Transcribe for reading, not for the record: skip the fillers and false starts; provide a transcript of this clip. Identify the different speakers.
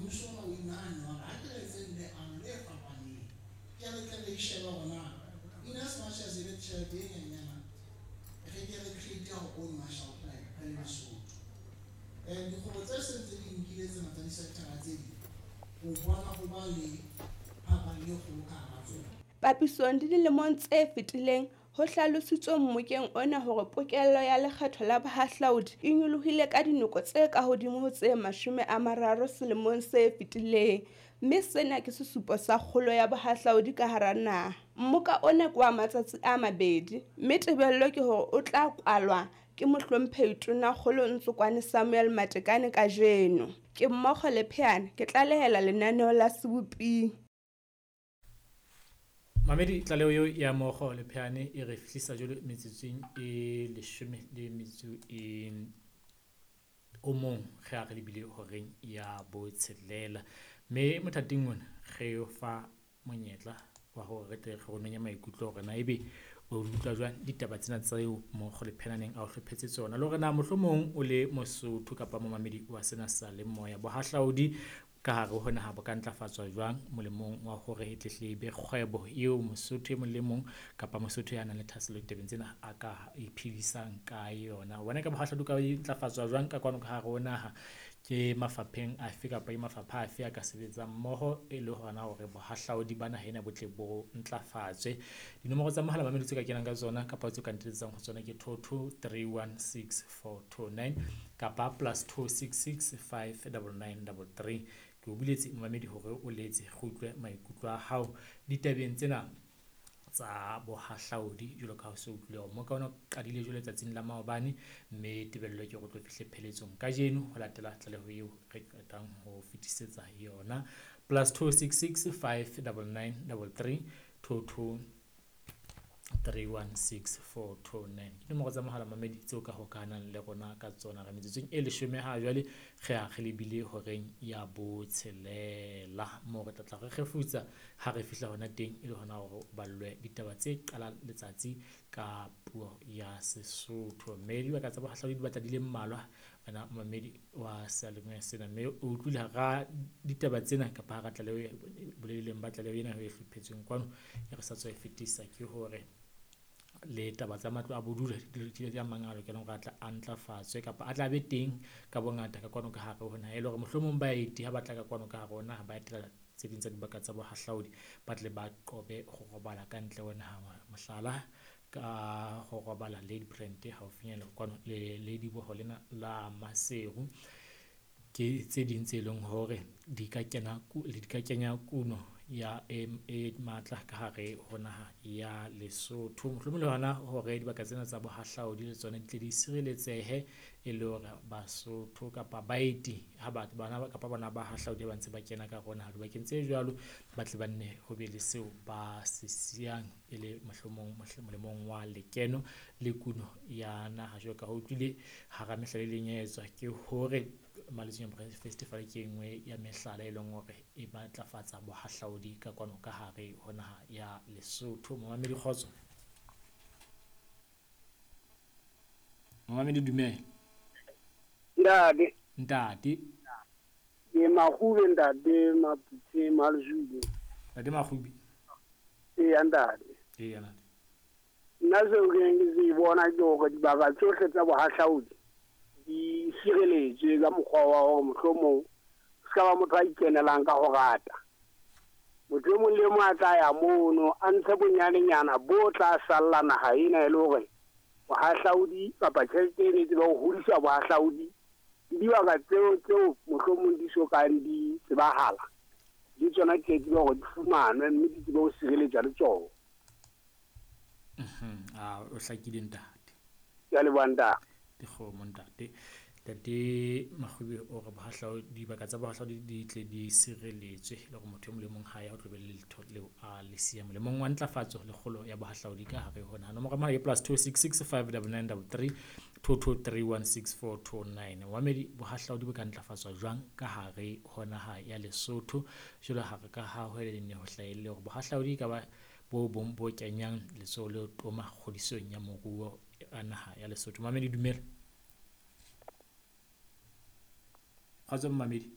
Speaker 1: Mmuso ona o inahanne wa re ha ke re etseng leano le fapaneng. Ke re tle re shebe hore na in as much as e le tjhelete e nyenyana, re ke re create our own Marshall Plan re le Lesotho. Dikgwebo tse seng tse di nkile tsena tsa di-sector-a tse ding, o bona ho ba le phapang e kgolo ka hara tsona.
Speaker 2: Papisong le dilemong tse fetileng, ho hlalositswe mmokeng ona hore pokello ya lekgetho la bohahlaudi e nyolohile ka dinoko tse kahodimo ho tse 30 selemong se fetileng, mme sena ke sesupo sa kgolo ya bohahlaudi ka hara naha. Mmoka ona ke wa matsatsi a mabedi, mme tebello ke hore o tla kwalwa ke Mohlomphehi Tonakgolo Ntsokoane Samuel Matekane kajeno. Ke Mmokgo Lepheane, ke tlalehela lenaneo la Seboping.
Speaker 3: Mamedi, tlaleho eo ya Mokgo Lepheane e re fihlisa jwale metsotsong e leshome le metso e o mong ge a re lebile horeng ya botshelela. Mme mothating ona re o fa monyetla wa hore re tle re ronenye maikutlo hore na ebe o utlwa jwang ditaba tsena tseo Mokgo Lepheane neng a o hlophetse tsona, le hore na mohlomong o le Mosotho kapa momamedi wa sena sa le moya, bohahlaudi ka hare ho naha bo ka ntlafatswa jwang molemong wa hore e tle e be kgwebo eo Mosotho e mong le mong kapa Mosotho ya nang le thahasello ditabeng tsena a ka iphedisang ka yona. Bona ka bohahlaudi ka ntlafatswa jwang ka kwano ka hare ho naha, ke mafapheng afe kapa ke mafapha afe a ka sebetsang mmoho e le hona hore bohahlaudi ba naha ena bo tle bo ntlafatswe. Dinomoro tsa mohala mamedi tse ka kenang ka tsona kapa tse ka ntetsang ho tsona ke 22316429 kapa +266 59933. Ke o buletse momamedi hore o letse re utlwe maikutlo a hao ditabeng tsena tsa bohahlaudi jwalo ka ha o se utlwile hore mmoka ona o qadile jwale letsatsing la maobane, mme tebello ke hore o tlo fihle pheletsong kajeno ho latela tlaleho eo re qetang ho fetisetsa yona. +266 599 33 22316429 ke nomoro tsa mohala mamedi tseo ka hokahanang le rona ka tsona. Re metsotsong e leshome ha jwale re a re lebile horeng ya botshelela, moo re tla tla re kgefutsa ha re fihla hona teng e le hona hore o ballwe ditaba tse qalang letsatsi ka puo ya Sesotho. Mme dibaka tsa bohahlaudi di batla di le mmalwa wena momamedi wa seyalemoya sena, mme o utlwile hara ditaba tsena kapa hara tlaleho boleleng ba tlaleho ena e hlophetsweng kwano e re sa tswa e fetisa, ke hore le taba tsa matlo a bodulo di a mang a lokelang hore a tla a ntlafatswe kapa a tla be teng ka bongata ka kwano ka hare ho naha, e le hore mohlomong baeti ha ba tla ka kwano ka hare ho naha ba etela tse ding tsa dibaka tsa bohahlaudi ba tle ba qobe ho robala ka ntle ho naha. Mohlala ka ho robala Ladybrand haufinyana kwano le lediboho lena la Maseru, ke tse ding tse leng hore di ka kena di ka kenya kuno ya e matla ka hare ho naha ya Lesotho. Mohlomong le hona hore dibaka tsena tsa bohahlaudi le tsona di tle di sireletsehe e le hore Basotho kapa baeti ha batho bana kapa bona bahahlaudi ba ntse ba kena ka hare ho naha dibakeng tse jwalo, ba tle ba nne ho be le seo ba se siyang e le mohlomong molemong wa lekeno le kuno ya naha. Jwalo ka ha utlwile hara mehlala e leng ya etswa ke hore Maletsoge Festival ke e nngwe ya mehlala e leng hore e matlafatsa bohahlaudi ka kwano ka hare ho naha ya Lesotho. Momamedi kgotso. Momamedi dumela.
Speaker 4: Ntate.
Speaker 3: Ntate.
Speaker 4: Ke Makgube ntate Maputse Malzulu.
Speaker 3: Ntate Makgube.
Speaker 4: Eya ntate.
Speaker 3: Eya ntate.
Speaker 4: Nna seo ke neng ke se bona ke hore dibaka tsohle tsa bohahlaudi di sireletswe ka mokgwa wa hore mohlomong se ka ba motho a ikenelang ka ho rata. Motho e mong le mong a tla ya mono a ntshe bonyanenyana bo tla salla naha ena e le hore bohahlaudi kapa tjhelete eno e tsebe ho hodisa bohahlaudi le dibaka tseo tseo mohlomong di sokang di tsebahala le tsona di tsebe hore di fumanwe mme di tsebe ho sireletswa le tsona.
Speaker 3: O hlakile ntate.
Speaker 4: Ke a leboha ntate.
Speaker 3: Dikgomo ntate. Ntate Makgube o re bohahlaudi dibaka tsa bohahlaudi di tle di sireletswe le hore motho e mong le mong ha ya ho tlo be le letho leo a le siyang molemong wa ntlafatso le kgolo ya bohahlaudi ka hare ho naha. Nomoro ya mohala ke +266 599 33 22316429. Momamedi, bohahlaudi bo ka ntlafatswa jwang ka hare ho naha ya Lesotho? Jwalo ha re ka ha ho le ho hlahelle hore bohahlaudi ka ba bo bong bo kenyang letsoho le toma kgodisong ya moruo a naha ya Lesotho. Momamedi dumela. Kgotso momamedi.